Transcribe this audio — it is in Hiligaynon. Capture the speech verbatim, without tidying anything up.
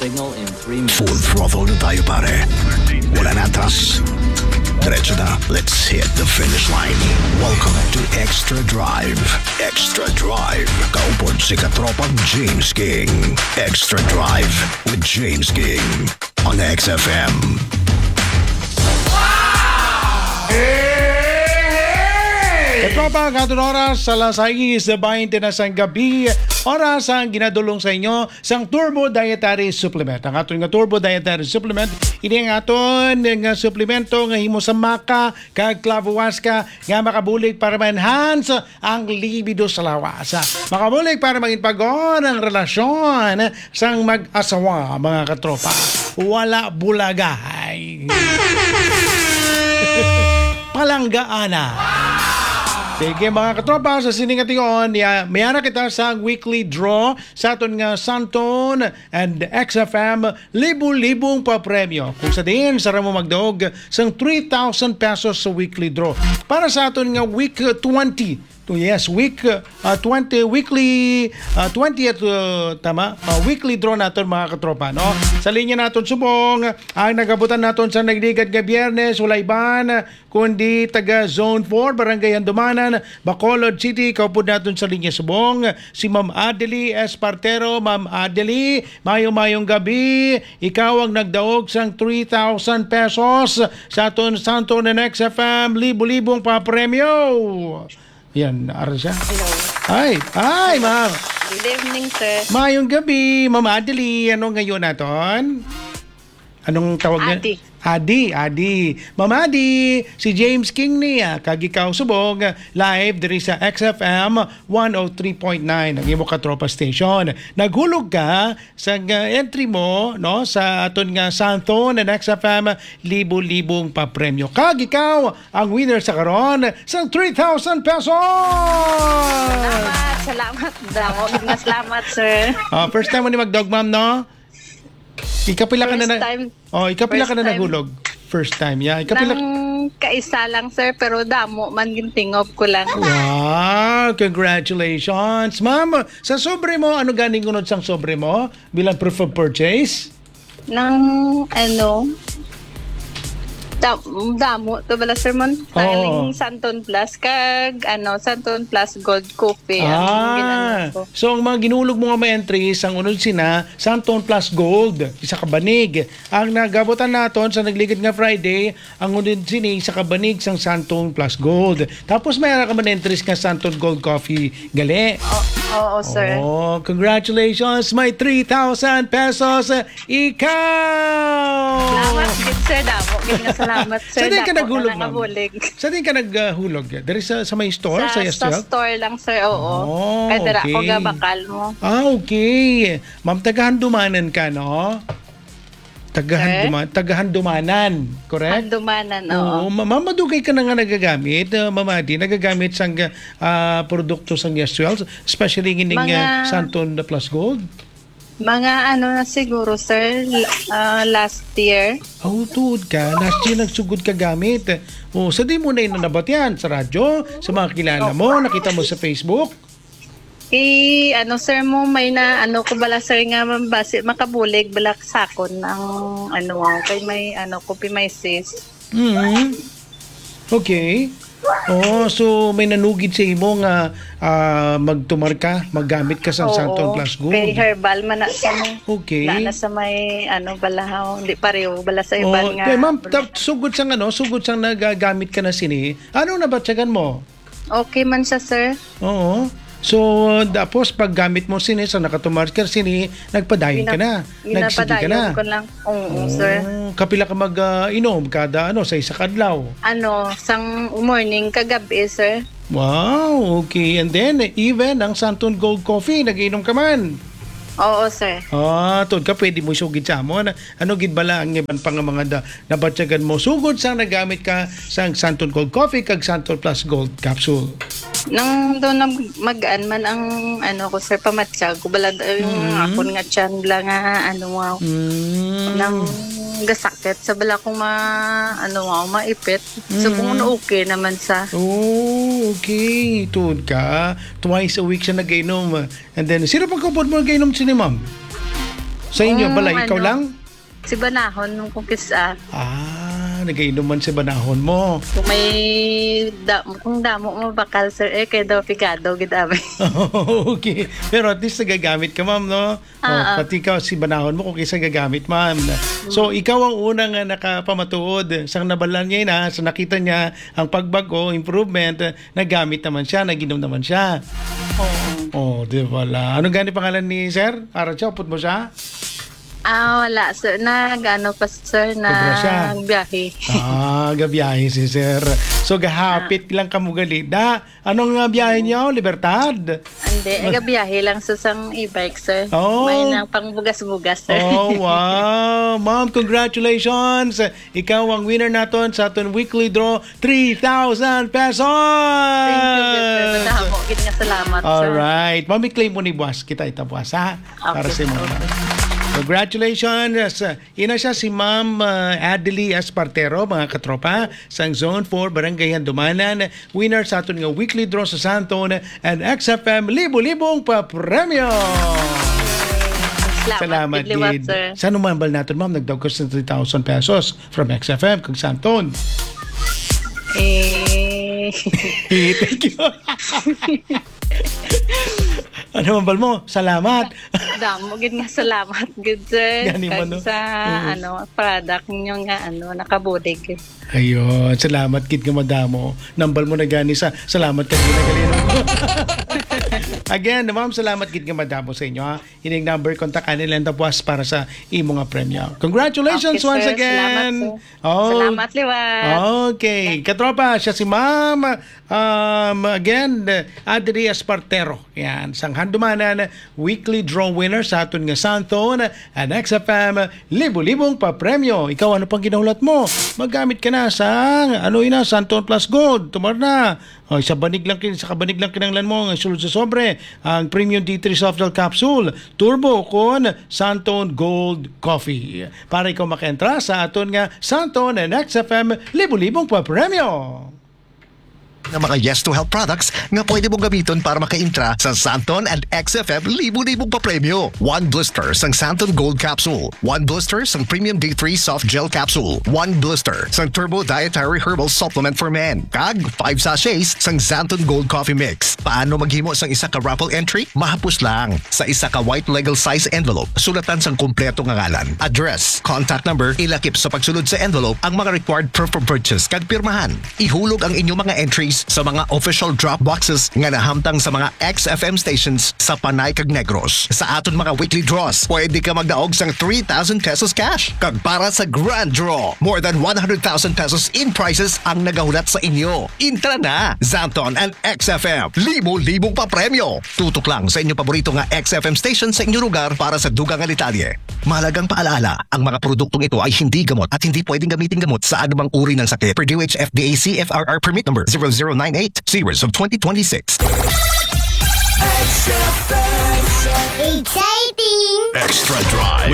Signal in three minutes. Full throttle na tayo, pare. Wala na atras. Diretso na. Let's hit the finish line. Welcome to Extra Drive. Extra Drive. Kaupod si Katropang James King. Extra Drive with James King on X F M. Katropa, ang aton oras, alas sais bente na sang gabi. Oras ang ginadulong sa inyo sang Turbo Dietary Supplement. Ang aton nga Turbo Dietary Supplement, ini ang aton nga suplemento nga himo sa maca kag clavo huasca nga makabulig para ma-enhance ang libido sa lawas. Makabulig para mangin pag-on ang relasyon sang mag-asawa, mga katropa. Wala bulagay. Palanggaana. Sige, mga katropa, sa sining ation, ya, mayara kita sa weekly draw sa aton nga Santon and X F M libo-libong papremyo. Kung sa diin, sa mo magdaog sang three thousand pesos sa weekly draw. Para sa aton nga week twenty, to, yes, week, uh, twenty, weekly, uh, twentieth, uh, tama? Uh, weekly draw naton, mga katropa, no? Sa linya naton subong, ang nagabutan naton sa nagligad nga Biyernes, wala iban kundi taga Zone four, Barangay Handumanan, Bacolod City. Kaupod naton sa linya subong, si Ma'am Adeli Espartero. Ma'am Adeli, mayong-mayong gabi. Ikaw ang nagdaog sang three thousand pesos sa aton Santon and X F M libo-libong papremyo. Yan, ara siya. Hello. Ay, ay, ma'am. Good evening, sir. Mayong gabi, Ma'am Adeli. Ano ngayon naton? Anong tawag niya? Adi. Adi, Adi. Ma'am Adi, si James King niya, kag ikaw subong, live diri sa X F M one oh three point nine, ang imo katropa station. Naghulog ka sa, uh, entry mo, no, sa aton nga Santon and X F M libo-libong papremyo. Kag ikaw ang winner sa karon sang three thousand pesos! Salamat, salamat. Damo gid nga salamat, sir. Ah, first time mo ni magdaog, ma'am, no? Ikapila ka na First na, time. Oh, ikapila ka First na time. Nahulog? First time, yeah. Ikapila? Nang kaisa lang, sir, pero damo man, gintingop ko lang. Wow, congratulations. Ma'am, sa sobre mo, ano ganing unod sang sobre mo bilang proof of purchase? Nang, ano, da-, damo to bala, sir, man. Oo. Tiling Santon Plus kag, ano, Santon Plus Gold Coffee ang Ah, ginano ko. So ang mga ginulog mo nga mga entries, ang unod sina, Santon Plus Gold, isa ka banig. Ang nagabutan naton sa nagligid nga Friday, ang unod sini, isa ka banig sang Santon Plus Gold. Tapos may ara ka man entries nga Santon Gold Coffee, gali? O-, oo, sir. Oh, congratulations! May three thousand pesos ikaw! Salamat gid, sir. Damo gid nga salamat, sir. Sa diin ka Dako na naghulog, ma'am? Nangabulig. Sa diin ka nag, ah, hulog? Diri sa, sa may store, sa, sa Yes Twelve? Store lang, sir. Oo. Oh, kay dira ko okay. Gabakal mo. Ah, okay. Ma'am, taga Handumanan ka, no? Taga Sir? Handuma-, taga Handumanan, correct? Handumanan, oo. Oo, ma-, ma'am, madugay ka na nga nagagamit, ah, Ma'am Adi, nagagamit sang, ah, produkto sang Yes Twelve, especially ining, Mga ah, Santon Plus Gold? Mga ano na siguro, sir, l-, ah, last year. Oh, tuod ka. Last year nagsugod ka gamit. Oh, sa di mo na ina nabatian sa radyo, sa mga kilala mo, nakita mo sa Facebook? I, ano, sir, mo, may na, ano ko bala, sir, nga basi makabulig bala sa akon ang, ano, kay may, ano, ko, may cyst. Mm. Okay. Oh, so may nanugid sa imo nga, ah, magtumar ka, maggamit ka sa Oo. Santon Plus Gold. Kay herbal man na sa mo. Okay. Na, na sa may, ano, balahaw, hindi pareho, bala sa iban Oh, nga. Okay, ma'am, ta-, sugod sang ano, sugod sang nagagamit ka na sini, ano nabatyagan mo? Okay man siya, sir. Oo. So, tapos paggamit mo sini, sa nakatumar ka sini, nagpadayon ka Gina-, na. Nagsige ka ginapadayon na. Ko lang. Oo, sir. Oh, kapila ka mag, ah, inom kada, ano, sa isa ka adlaw? Ano, sang morning kagabi, sir. Wow, okay. And then, even ang Santon Gold Coffee, nag-inom ka man? Oo, sir. Ah, tuod ka, pwede mo isugid sa amon. Ano gid bala ang iban pa nga mga da-, nabatyagan mo sugod sang nagamit ka sang Santon Gold Coffee kag Santon Plus Gold Capsule? Nang doon na mag-an man ang, ano ko, sir, pamatyag ko, bala, yung Mm. akon nga tiyan, bala nga, ano, wow. Mm. Nang gasakit, sa bala kong ma-, ano, wow, maipit. So, Mm. kung ano, okay naman sa Oh, okay. Tuod ka. Twice a week siya nag-inom. And then, sino pang kaupod mo nag-inom sini, ma'am? Sa inyo, Mm, balay, ikaw ano? lang? Si Banahon mo kung kis-a. Ah, nagainom man si Banahon mo. Kung may da, kung damo mo bakal, sir, eh, kay daw pigado gid abi. Okay. Pero at least nagagamit ka, ma'am, no? Oh, Ah, ah. Pati ikaw, si Banahon mo, kung kisa gagamit, ma'am. So, ikaw ang unang, ah, nakapamatuod. Sang nabalaan niya na, sa nakita niya ang pagbago, improvement, eh, nagamit naman siya, naginom naman siya. Oo. Oh, di ba la? Anong gani pangalan ni sir? Para siya, upod mo siya? Ah, wala, sir. Nag-ano pa, sir, Sobra siya. Nagbiyahe. Ah, gabiyahe si sir. So, gahapit lang kamo gali. Da, anong nga biyahe niyo? Libertad? Hindi, gabiyahe lang sa sang e-bike, sir. Oh. May nang pangbugas-bugas, sir. Oh, wow. Ma'am, congratulations. Ikaw ang winner naton sa aton weekly draw, three thousand pesos. Thank you, sir. Madamo gid nga salamat, sir. Alright. Ma'am, i-claim mo ni buwas. Kita ita buwas, ha? Para Okay, sa mga. okay. Congratulations. Ina siya si Ma'am, ah, Adely Espartero, mga katropa, sang Zone four, Barangay Handumanan. Winner sa aton nga weekly draw sa Santon and X F M. Libo-libong pa premyo! Salamat, gid liwat, sir. Sa numambal natin, ma'am, nagdaog ka sa three thousand pesos from X F M kag Santon. Eh, Thank you. Ano man bal mo? Salamat. Damo gid nga salamat gid, sir. Gani man, Kag no? Sa, Mm. ano, product ninyo nga, ano, nakabulig. Ayun, salamat gid nga madamo. Nambal mo na gani sa salamat ka gina galino. Again, ma'am, salamat gid nga madamo sa inyo, ha. Ining number, kontakan nila ang Dabuas para sa imo nga premyo. Congratulations Okay, once sir. again. Salamat, sir. Oh. Salamat, liwat. Okay. Katropa, siya si Ma'am. Um, again, Adri Espartero. Yan. Sang Handumanan, weekly draw winner sa aton nga Santon and X F M, libo-libong pa premyo. Ikaw, ano pang ginahulat mo? Magamit ka na sa, ano ina, Santon Plus Gold. Tumar na. O, sa banig lang kin-, sa kabanig lang kinanglan mo ang sulod sa sobre, ang Premium D three Soft Gel Capsule, Turbo kon Santon Gold Coffee. Para ikaw makaentra sa aton nga Santon and X F M libo-libong pa premyo. Nga mga Yes to Help products nga pwede mong gamiton para makaintra sa Santon and X F M libo-libong papremyo. One blister sang Santon Gold Capsule, one blister sang Premium D three Soft Gel Capsule, one blister sang Turbo Dietary Herbal Supplement for Men, kag five sachets sang Santon Gold Coffee Mix. Paano maghimo sang isa ka raffle entry? Mahapos lang. Sa isa ka white legal size envelope, sulatan sang kompleto nga ngalan, address, contact number, ilakip sa pagsulod sa envelope ang mga required proof of purchase kag pirmahan. Ihulog ang inyong mga entries sa mga official drop boxes nga nahamtang sa mga X F M stations sa Panay kag Negros. Sa aton mga weekly draws, pwede ka magdaog sang three thousand pesos cash. Kag para sa grand draw, more than one hundred thousand pesos in prizes ang nagahulat sa inyo. Intra na! Santon and X F M, libo-libong papremyo. Tutok lang sa inyong paborito nga X F M station sa inyong lugar para sa dugang nga detalye. Mahalagang paalaala, ang mga produktong ito ay hindi gamot at hindi pwedeng gamitin gamot sa anumang uri ng sakit. Per D O H F D A C F R R permit number zero zero nine eight, series of twenty twenty-six. Exciting! Extra Drive.